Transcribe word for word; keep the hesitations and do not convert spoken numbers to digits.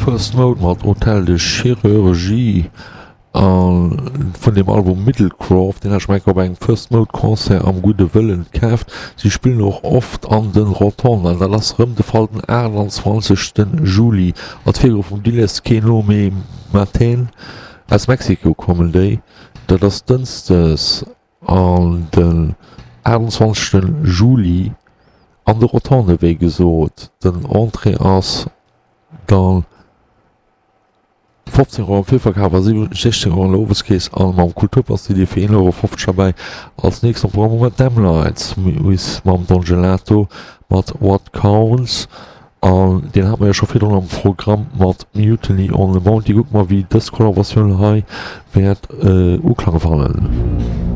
First Mode mat Hotel de Chirurgie a vun dem Album Middlecroft, deen hat ech mer enker op engem First Mode Concert am Gudde Wëllen kaaft. Si spillen och oft an de Rotonden an dat ass rëm de Fall den aachtanzwanzegste Juli. Als Virgrupp vum Diles Que No Me Maten aus Mexiko kommen déi. Dat ass dënschdes an den aachtanzwanzegste Juli an de Rotonde wéi gesot. Den Entrée ass dann fofzéng Euro am Virverkaf a sechzéng Euro an der Oweskeess a mam Kulturpass sidd Dir fir een Euro fofzeg derbäi. Als nächst am Programm hu mer d'M-Lites mam Don Gelato mat What Counts an deen hate mer jo scho virdrun am Programm mat Mutiny on the Bounty. Kucke mer wéi dës Kollaboratioun hei wäert Uklang fannen.